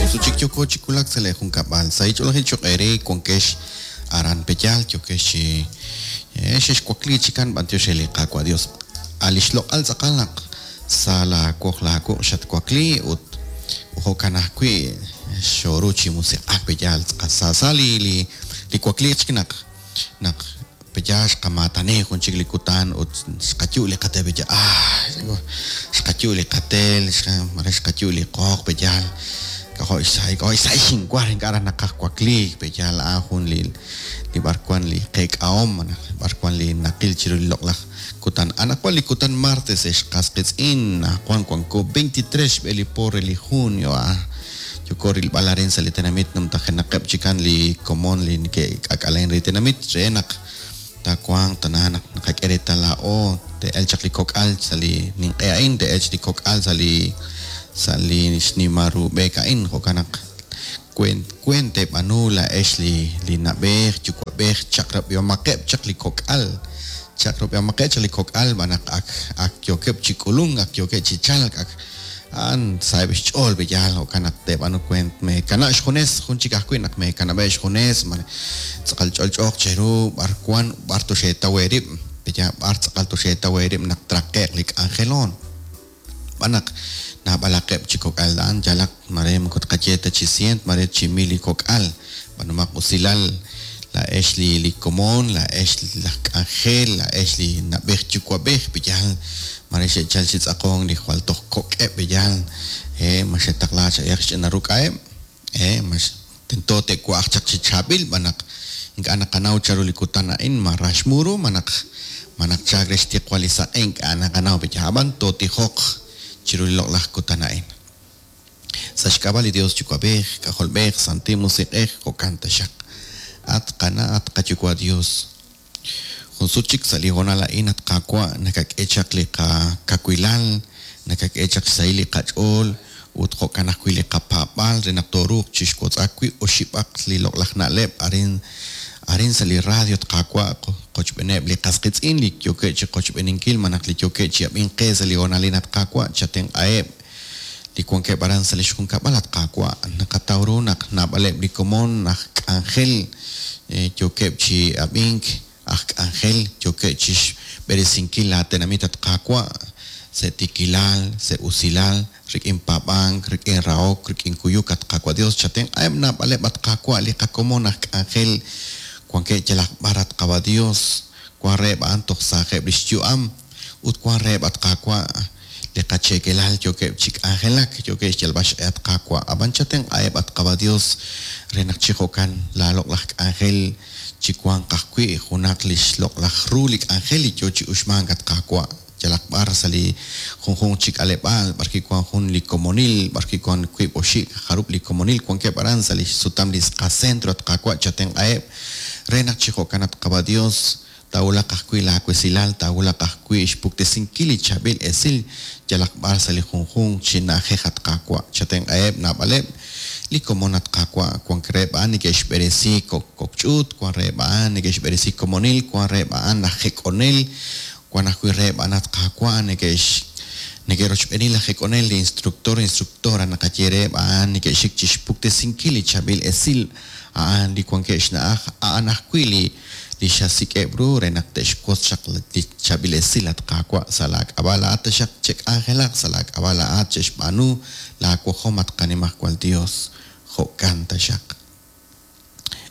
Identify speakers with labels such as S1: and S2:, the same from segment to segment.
S1: Jun sut chik yooko chi wulak sa' lee junkab'al. Sahil ch'oolejil choq' eere wankex aran Peyal, yookex chi xexwakliik chikan b'antiox re li Qaawa' Dios. A' lix loq'al tz'aqal naq sa laa woq laa wuq' xatwakli ut jo'kan ajwi' xooru chi musiq'ak Peyal. Sa sa li li wakliik chik naq naq Peyaal xqamaatani jun chik li kutan ut xqayu' li qatel peyaal aay xqayu' li qatel mare xqayu' li qooq peyaal k'ajo' xsahil k'ajo' xsahil xinwar ink'a' raj naqaj wakliik peyaal a'an jun li li b'arwan li qeek'ahom malaj b'arwan li naqil chiru li loq'laj kutan. Anaqwan li kutan martes ex qas qiitz'in anaqwan wanko 23 xb'e li po re li junio a'an Yooko rilb'al arin sa' li tenamit numtajenaqeb' chikan li komon li neke'k'aak'alenk re li tenamit re naq taawanq tana naq naqak'e reetal laa'o te'elq chaq li kok'al sa' li ninq'e a'in, te'elq li kok'al sa' li sa' li xnimal ru b'eek a'in. Jo'kan naq weent weent teeb'aanu laa'ex li li na'b'ej yuwa'b'ej chaq'rab'ihomaqeb' chaq li kok'al, chaq'rab'ihomaqeb' chaq li kok'al xb'aan naq ak ak yookeb' chi k'ulunk, ak yookeb' chi chalk, ak A'an saheb' xch'ool pe' yaal, jo'kan naq teeb'aanu weent. Meekanab' xjunes, jun chik ajwi' naq meekanab'eb' xjunes, mare tz'aqal ch'olch'ooq cheru b'ar wan ut b'ar toxeetaw eerib', pe' yaal b'ar tz'aqal toxeetaw eerib' naq traqe'q li k'anjeloon. Xb'aan naq naab'alaqeb' chi kok'al a'an yalaq mare moko tqaye ta chi sient, mare chi mil li kok'al. B'aanumaq usilal, laa'ex li li komon, laa'ex laj k'anjel, laa'ex li na'b'ej yuwa'b'ej, pe'yaal mare xe'chal chi tz'aqonk li jwal toj kok'eb' pe'yaal, he, ma xetaqla cha'yaq xch'ina ruk'a'eb', he, ma tento te'wa'aq chaq chi chaab'il b'an naq ink'a' naqanaw chanru li kutan a'in, ma rax mu ru, ma naq ma naq chalk re xtiqwal li saq'e ink'a' naqanaw pe'yaal, ab'an tootijoq chiru li loq'laj kutan a'in. Sa' xk'ab'a' li Dios Yuwa'b'ej, K'ajolb'ej, Santil Musiq'ej, jo'kan taxaq. At qana', at qaYuwa' Dios, jun sut chik sa' li hoonal a'in, at Qaawa', nakak'e chaq li qakawilal, nakak'e chaq xsahil li qach'ool, ut jo'kan ajwi' li qapaab'aal re naq tooruuq chixwotz'ak wi' oxib'aq li loq'laj na'leb' arin arin sa' li radio, at Qaawa', qochb'eeneb' li qas qiitz'in li yookeb' chiqochb'eeninkil malaj li yookeb' chi ab'ink qe sa' li hoonal a'in, at Qaawa', chatenq'aheb' li wankeb' aran sa' lix junkab'al, at Qaawa', naqataw ru naq naab'aleb' li komon aj k'anjel yookeb' chi ab'ink, aj k'anjel yookeb' chixb'eresinkil laa tenamit, at Qaawa', sa' tiikilal, sa' usilal, rik'in paab'ank, rik'in rahok, rik'in kuyuk, at Qaawa' Dios, chatenq'aheb' naab'aleb', at Qaawa', li qakomon aj k'anjel wankeb' yalaq b'ar, at Qaawa' Dios, wan reheb' a'an toj saajeb' lix yu'am, ut wan reheb', at Qaawa', Li qacheekelal yookeb' chi k'anjelak, yookeb' xyalb'al xq'e, at Qaawa'. Ab'an chatenq'aheb', at Qaawa' Dios, re naq chi jo'kan laaloq'laj k'anjel chiwanq ajwi' junaq li xloq'laj ru li k'anjel li yo chi uxmank, at Qaawa', yalaq b'ar sa' li junjunq chi k'aleb'aal b'arwi' wank jun li komonil, b'arwi' wank wiib' oxib' jarub' li komonil wankeb' aran sa' li xsutam li qacentro, at Qaawa', chatenq'aheb' re naq chi jo'kan, at Qaawa' Dios, Taawulaq ajwi' laawesilal, taawulaq ajwi' xpuktesinkil li chaab'il esil yalaq b'ar sa' li junjunq chi na'ajej, at Qaawa'. Chatenq'aheb' naab'aleb' li komon, at Qaawa'. Wank reheb' a'an neke'xb'eresi kok' ch'uut, wank reheb' a'an neke'xb'eresi komonil, wank reheb' a'an aj jek'onel, wank ajwi' reheb' a'an, at Qaawa', neke'rochb'eeni laj jek'onel, li instructor, instructora naqaye reheb' a'an, neke'xik chixpuktesinkil li chaab'il esil a'an li wankeb' xna'aj, a'an ajwi' li li xasik'eb' ru re naq te'xwotz chaq li chaab'il esil, at Qaawa', sa' laa k'ab'a' laa'at taxaq che'k'anjelaq, sa' laa k'ab'a' laa'at che'xb'aanu laa wajom, at qaNimajwal Dios. Jo'kan taxaq.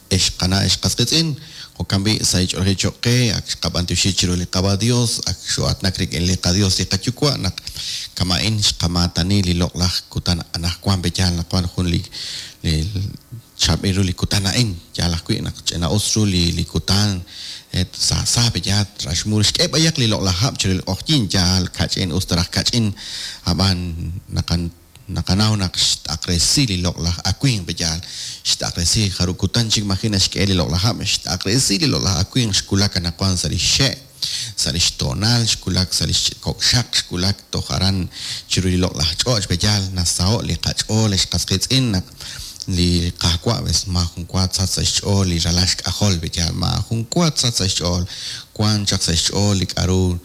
S1: Ex qana' ex qas qiitz'in, jo'kan b'i' sahil ch'oolejil choq' qe, ak xqab'antioxi chiru li Qaawa' Dios, ak xoo'aatinak rik'in li qaDios li qaYuwa' naq kama'in xqamaatani li loq'laj kutan anajwan, pe' yaal naq wan jun li li Chaab'il ru li kutan a'in, yaal ajwi' naq ch'ina'us ru li li kutan, et sa sa pe' yaal raxmul xk'e b'ayaq li loq'laj hab' chiru li q'oqyink, yaal kach'in us ta raj kach'in, ab'an naqan naqanaw naq xt'aqresi li loq'laj awimq pe' yaal, xt'aqresi jarub' kutan chik maji' naxk'e li loq'laj hab', xt'aqresi li loq'laj awimq xwulak anaqwan sa' li xxe', sa' li xtoonal, xwulak sa' li kok' xaq, xwulak toj aran chiru li loq'laj ch'och', pe' yaal nasaho' li qach'ool ex qas qiitz'in naq li Qaawa' ves maajun wa tsach sa' xch'ool li ralal xk'ajol, pe' yaal maajun wa tsach sa' xch'ool, wank chaq sa' xch'ool li k'a'ru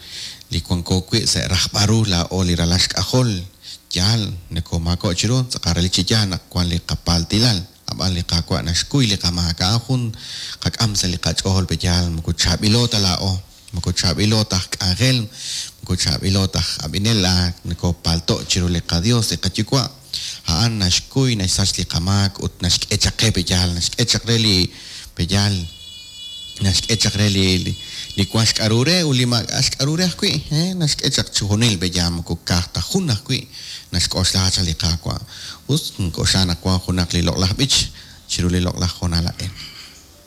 S1: li wanko wi' sa' rajb'al ru laa'o li ralal xk'ajol. Yaal, nokomaako' chiru, tz'aqal relik chi yaal naq wan li qapaltilal, ab'an li Qaawa' naxkuy li qamaak. A'an jun qak'am sa' li qach'ool pe yaal, moko chaab'ilo ta laa'o, moko chaab'ilo ta aj k'anjel, moko chaab'ilo ta aj ab'inel, nokopalto' chiru li qaDios, li qaYuwa'. A'an naxkuy, naxsach li qamaak ut naxk'e chaq qe pe yaal, naxk'e chaq re li pe yaal, naxk'e chaq re li li wan xk'a'ru re ut li maak'a' xk'a'ru re ajwi', naxk'e chaq chixjunil pe yaal, moko ka'aj ta jun ajwi' naxk'oxla chaq li Qaawa'. Us, nink'oxla naq wan junaq li loq'laj b'ich chiru li loq'laj hoonal a'in.